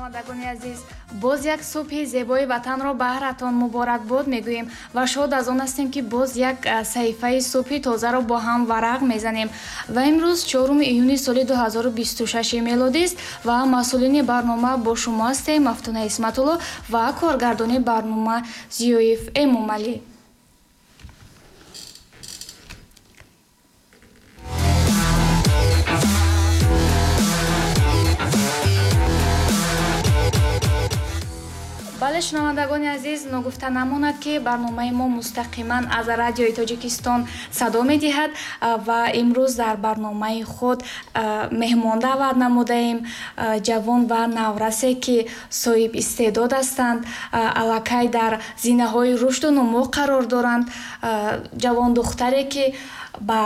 Шунавандагони азиз, боз як субҳи зебои ватанро баҳратон муборакбод мегӯем ва шод аз он ҳастем, ки боз як саҳифаи субҳи тозаро бо ҳам варақ мезанем. Ва имрӯз 4 июни соли 2026 мелодист ва масъулини барнома бо шумо ҳастем Мафтуна Исматулло ва коргардони барнома Зиёев Эмомалӣ. Бале, шунавандагони азиз, ногуфта намонад, ки барномаи мо мустақиман аз Радиои Тоҷикистон садо медиҳад ва имрӯз дар барномаи худ меҳмон даъват намудаем, ҷавон ва наврасе, ки соҳиб истеъдод ҳастанд, аллакай дар зинаҳои рушду нумӯ қарор доранд, ҷавондухтаре, ки ба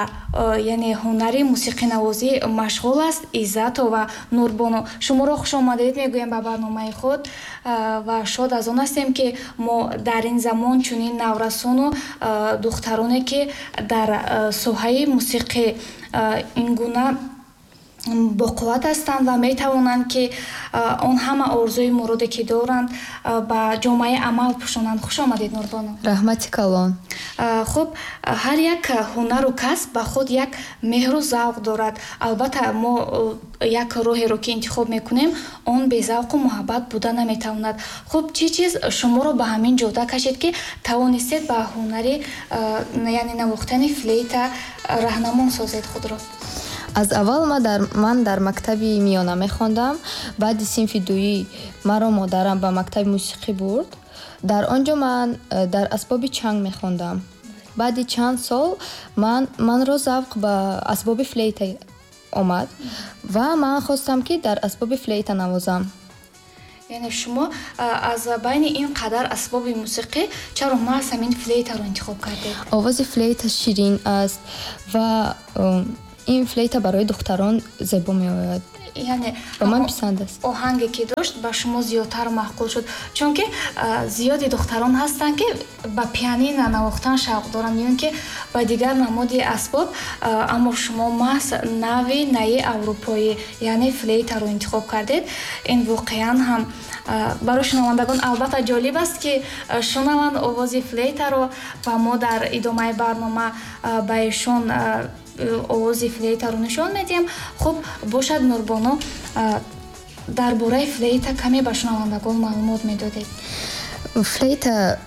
яъне ҳунари мусиқинавозӣ машғул аст, Иззатова Нурбону. Шуморо хушомадед мегӯем ба барномаи худ ва шод аз он ҳастем, ки мо дар ин замон чунин наврасону духтароне, ки дар соҳаи мусиқӣ ин гуна боқувват ҳастанд ва метавонанд, ки он ҳама орзуи муроде, ки доранд, ба ҷомаи амал пӯшонанд. Хуш омадед, Нурбону. Раҳмати калон. Хуб, ҳар як ҳунару касб ба худ як меҳру завқ дорад. Албатта, мо як роҳеро, ки интихоб мекунем, он безавқу муҳаббат буда наметавонад. Хуб, чӣ чиз шуморо ба ҳамин ҷода кашид, ки тавонистед ба ҳунари, яъне навохтани флейта раҳнамон созед худро? Аз аввал ман дар мактаби миёна мехондам. Баъди синфи дуюм маро модарам ба мактаби мусиқӣ бурд. Дар он ҷо ман дар асбоби чанг мехондам. Баъди чанд сол манро завқ ба асбоби флейта омад ва ман хостам, ки дар асбоби флейта навозам. Яъне шумо аз байни ин қадар асбоби мусиқӣ чаро маҳз ҳамин флейтаро интихоб кардед? Овози флейта ширин аст ва ин флейта барои духтарон зебо меояд. Яъне ба ман писанд аст. Оҳанге, ки дошт, ба шумо зиёдтар маъқул шуд, чунки зиёди духтарон ҳастанд, ки ба пианина навохтан шавқ доранд ё ин ки ба дигар намуди асбоб, аммо шумо маҳз нави наи аврупоӣ, яъне флейтаро интихоб кардед. Ин воқеан ҳам барои шунавандагон албатта ҷолиб аст, ки шунаванд овози флейтаро ва мо дар идомаи барнома ба эшон овози флейтаро нишон медиҳем. Хуб бошад, Нурбону, дар бораи флейта каме ба шунавандагон маълумот медодед. Флейта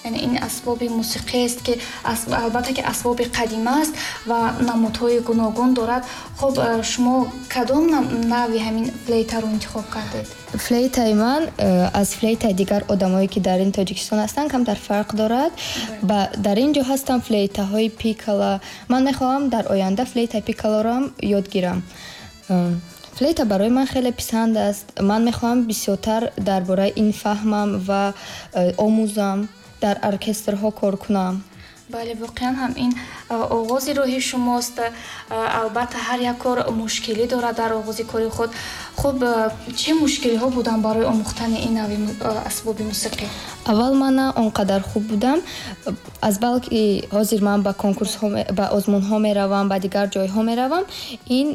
Яъне ин асбоби мусиқиест, ки албатта, ки асбоби қадима аст ва намудҳои гуногун дорад. Хуб, шумо кадом нави ҳамин флейтаро интихоб кардед? Флейтаи ман аз флейтаи дигар одамое, ки дар ин Тоҷикистон ҳастанд, камтар фарқ дорад. Дар ин ҷо ҳастанд флейтаҳои пикала. Ман мехоҳам дар оянда флейтаи пикалароам ёд гирам. Флейта барои ман хеле писанд аст. Ман мехоҳам бисёртар дар бораи ин фаҳмам ва омӯзам, дар оркестрҳо кор кунам. Бале, воқеан ҳам ин оғози роҳи шумост. Албатта, ҳар як кор мушкилӣ дорад дар оғози кори худ. Хуб, чӣ мушкилиҳо буданд барои омӯхтани ин нави асбоби мусиқӣ? Аввал ман на он қадар хуб будам, аз балки ҳозир ман ба конкурсҳо, ба озмунҳо меравам, ба дигар ҷойҳо меравам. Ин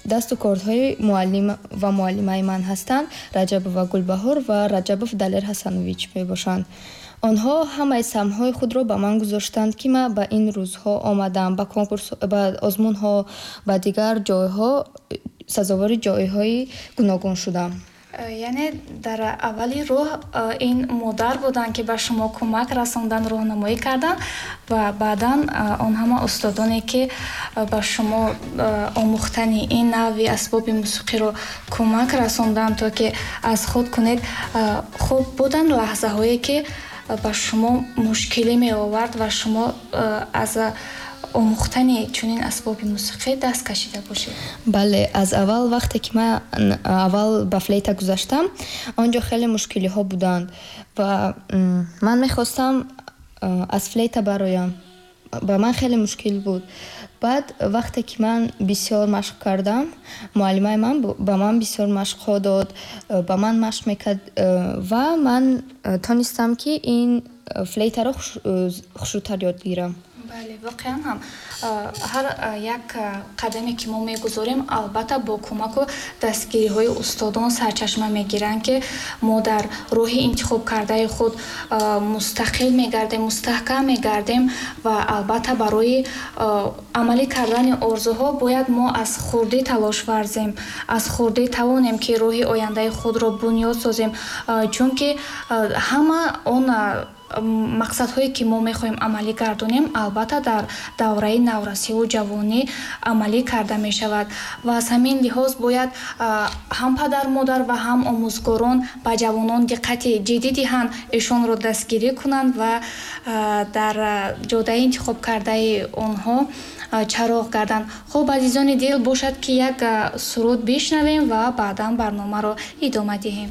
дасту кордҳои муаллим ва муаллимаи ман ҳастанд, Раҷабова Гулбаҳор ва Раҷабов Далер Ҳасанович мебошанд. Онҳо ҳамаи самҳои худро ба ман гузоштанд, ки ман ба ин рӯзҳо омадам, ба конкурс, ба озмунҳо, ба дигар ҷойҳо сазовори ҷойҳои гуногун шудам. Яъне дар аввали роҳ ин модар буданд, ки ба шумо кӯмак расонданд, роҳнамоӣ карданд ва баъдан он ҳама устодоне, ки ба шумо омӯхтани ин нави асбоби мусиқиро кӯмак расонданд, то ки аз худ кунед. Хуб, буданд лаҳзаҳое, ки ба шумо мушкилӣ меовард ва шумо аз омӯхтани чунин асбоби мусиқӣ даст кашида бошед? Бале, аз аввал, вақте ки ман аввал ба флейта гузаштам, он ҷо хеле мушкилиҳо буданд ва ман мехостам аз флейта бароям. Ба ман хеле мушкил буд. Баъд вақте ки ман бисёр машқ кардам, муаллимаи ман ба ман бисёр машқҳо дод, ба ман машқ мекард ва ман тонистам, ки ин флейтаро хушрӯтар ёд гирам. Бале, воқеан ҳам ҳар як қадаме ки мо мегузорем, албатта бо кӯмаку дастгириҳои устодон сарчашма мегиранд, ки мо дар роҳи интихобкардаи худ мустақил мегардем, мустаҳкам мегардем. Ва албатта барои амалӣ кардани орзуҳо бояд мо аз хурдӣ талош варзем, аз хурдӣ тавонем, ки роҳи ояндаи худро бунёд созем, чунки ҳама он мақсадҳое ки мо мехоҳем амалӣ гардонем, албатта дар давраи наврасиву ҷавонӣ амалӣ карда мешавад. Ва аз ҳамин лиҳоз бояд ҳам падару модар ва ҳам омӯзгорон ба ҷавонон диққати ҷиддӣ диҳанд, эшонро дастгирӣ кунанд ва дар ҷодаи интихобкардаи онҳо чароғ гарданд. Хуб, азизони дил, бошад, ки як суруд бишнавем ва баъдан барномаро идома диҳем.